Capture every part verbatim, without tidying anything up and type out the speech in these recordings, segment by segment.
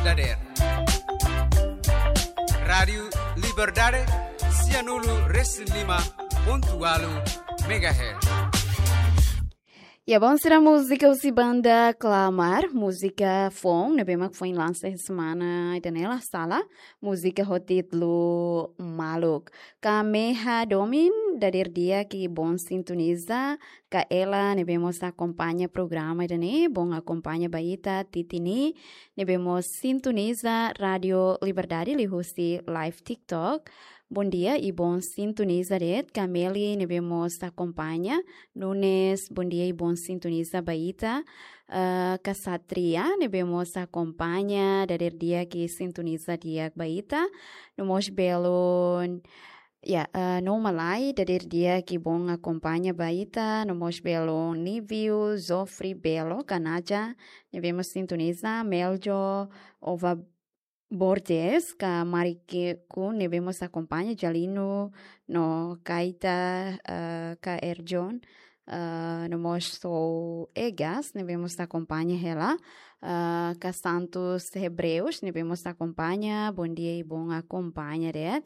dadeer. Rádiu Liberdade, sianulu resin lima pontu ualu megahertz. Ya, bom, sira múzika husi banda Klamar, múzika foun, ne'ebé mak foin lansa semana ida-ne'e la sala, múzika ho títulu Maluk. Kameha Domin, dadeer di'ak i bom sintoniza, Kaela, ne'ebé mós akompaña programa ida-ne'e, bom akompaña ba ita, Titini, ne'ebé mós sintoniza Rádiu Liberdade liuhusi live TikTok. Bom dia i bom sintoniza de'it, Kameli, ne'ebé mós akompaña, Nunes, bom dia i bom sintoniza ba ita, eh, Kasatria, ne'ebé mós akompaña, dadeer di'ak i sintoniza di'ak ba ita, no mós belun, ya, eh, no Malai, dadeer di'ak i bom akompaña ba ita, no mós belun Niviu, Zofri, Belo, Kanaja, ne'ebé mós sintoniza, Meljo, Ova Borges, ka Marike ku ne'ebé mós akompaña, Jalino, no Kaita, eh, ka Erjon, eh, no mós Sou Egas, ne'ebé mós akompaña hela, eh, ka Santos Hebreus, ne'ebé mós akompaña, bom dia i bom akompaña de'it.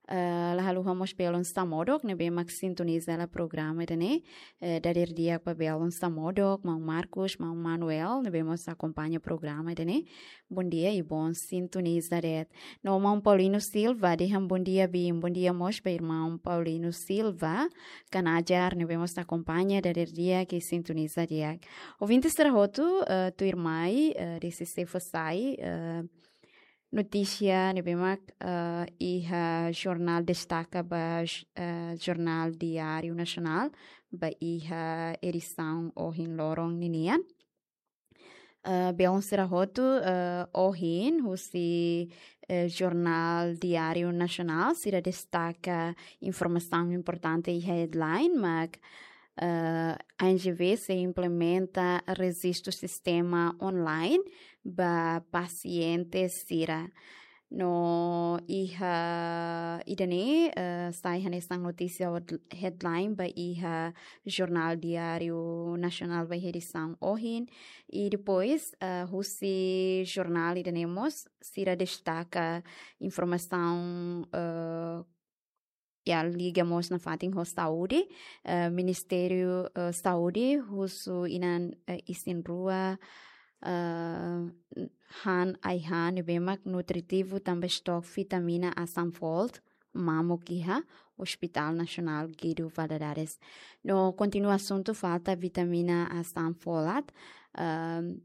Eh, la haluha mós belun Samodok, ne'ebé mak sintoniza hela programa ida-ne'e, eh, dadeer di'ak ba belun Samodok, Maun Marcos, Maun Manuel, ne'ebé mós akompaña programa ida-ne'e. Bom dia i bom sintoniza de'it. No Maun Paulino Silva, dehan bom dia, Bim. Bom dia mós ba irmaun Paulino Silva, Kanajar, ne'ebé mós akompaña, dadeer di'ak i sintoniza di'ak. Ouvinte sira hotu, eh, tuirmai, eh, D C C fó sai, eh, notísia ne'ebé mak, eh, iha jornál destaka ba, eh, Jornál Diáriu Nasionál, ba iha edisaun ohin loron ninian. Eh, belun sira hotu, eh, ohin, husi, eh, Jornál Diáriu Nasionál, sira destaka informasaun importante iha headline, mak, eh, A N G V sei implementa rejistu sistema online ba pasiente sira. No iha ida-ne'e, eh, sai hanesan notísia hod-, headline ba iha Jornál Diáriu Nasionál ba iha edisaun ohin. I depois, eh, husi jornál ida-ne'e mós, sira destaka informasaun, eh, ya liga mós nafatin ho saúde, eh, Ministériu, eh, Saúde, husu inan, eh, isin rua, eh, han ai-han ne'ebé mak nutritivu tanba estok vitamina Asam Folat mamuk iha Hospital Nasionál Guido Valadares. No kontinua asuntu falta vitamina Asam Folat, ehm,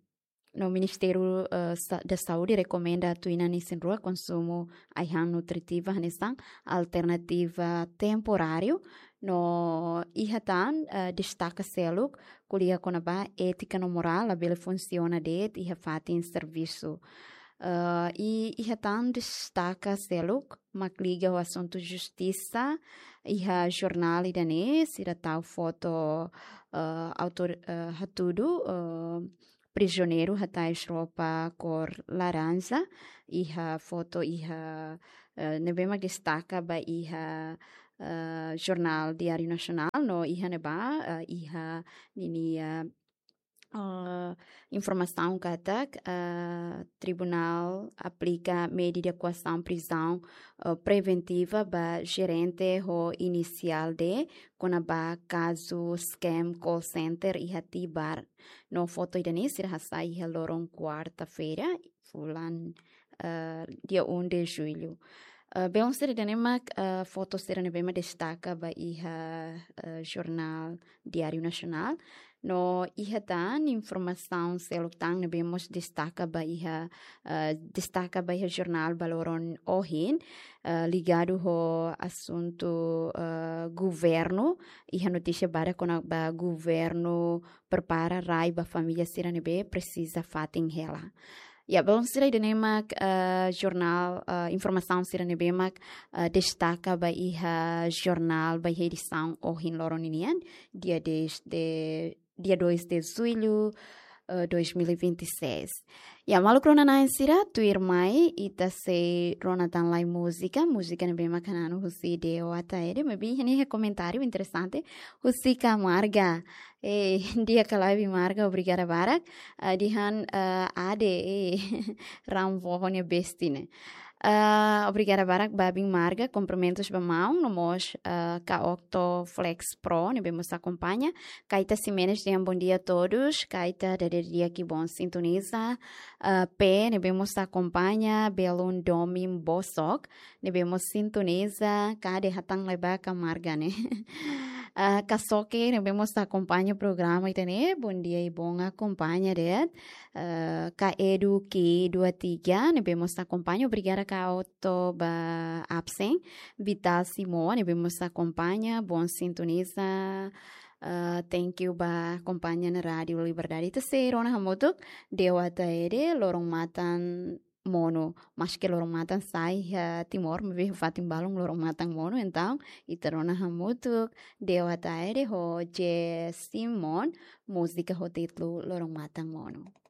no Ministériu, eh, Sa-, da Saúde rekomenda atu inan isin rua konsumu ai-han nutritiva hanesan alternativa temporáriu, no iha tan, eh, destaka seluk, ko'alia kona-ba étika no morál labele funsiona de'it iha fatin servisu. Eh, i iha tan destaka seluk mak liga ho asuntu justisa, iha jornál ida-ne'e sira tau foto, eh, autór, eh, hatudu, eh, prizioneiru hatais roupa kór laranja, iha foto iha, eh, ne'ebé mak destaka ba iha, eh, Jornál Diáriu Nasionál, no iha ne'ebá, eh, iha ninia, eh, informasaun katak, eh, tribunál aplika medida koasaun prizaun, eh, preventiva ba jerente ho inisiál D, kona-ba kazu scam call center iha Tibar. No foto ida-ne'e sira hasai iha loron kuarta-feira, fulan, eh, dia um de julho. Eh, belun sira, ida-ne'e mak, eh, foto sira ne'ebé mak destaka ba iha, eh, Jornál Diáriu Nasionál. No iha tan informasaun seluk tan ne'ebé mós destaka ba iha, eh, destaka ba iha jornál ba loron ohin, eh, ligadu ho asuntu, eh, governu, iha notísia badak kona-ba governu prepara rai ba família sira ne'ebé presiza fatin hela. Ya, belun sira, ida-ne'e mak, eh, jornál, eh, informasaun sira ne'ebé mak, eh, destaka ba iha jornál ba iha edisaun ohin loron ninian, dia dez de, dia dois de julho, eh, dois mil e vinte e seis. Ya, maluk rona-na'in sira, tuirmai ita sei rona tan lai múzika, múzika ne'ebé mak hananu husi Deo Ataide, maibé iha ne'e komentáriu interesante husi Ka Marga. Eh, di'ak ka lae Biin Marga, obrigada barak. Ah, dehan, ah, ade, eh, ran foho nia besti ne'e. Ah, obrigada barak ba Biin Marga, kumprimentus ba maun, no mós, ah, Ka Octo Flex Pro, ne'ebé mós akompaña. Kaita Ximenes dehan bom dia a todos, Kaita dada di'ak i bom sintoniza. Ah, P, ne'ebé mós akompaña, Belun Domin Bosok, ne'ebé mós sintoniza, Ka ade hatán lai ba Ka Marga ne'e. Ah, Ka Soke, ne'ebé mós akompaña programa ita-nia, bom dia i bom akompaña de'it. Ah, Ka Edu Ki dua tiga, ne'ebé mós akompaña, obrigada Ka Otto ba absen, Vital Simo, ne'ebé mós akompaña, bom sintoniza, ah, thank you ba akompaña ona Rádiu Liberdade. Ita sei rona hamutuk, Deo Ataide, Loron Matan Monu. Maske loron matan sa'e iha Timor, maibé fatin balun loron matan monu, entaun, ita rona hamutuk, Deo Ataide ho Jay Simon, múzika ho títulu Loron Matan Monu.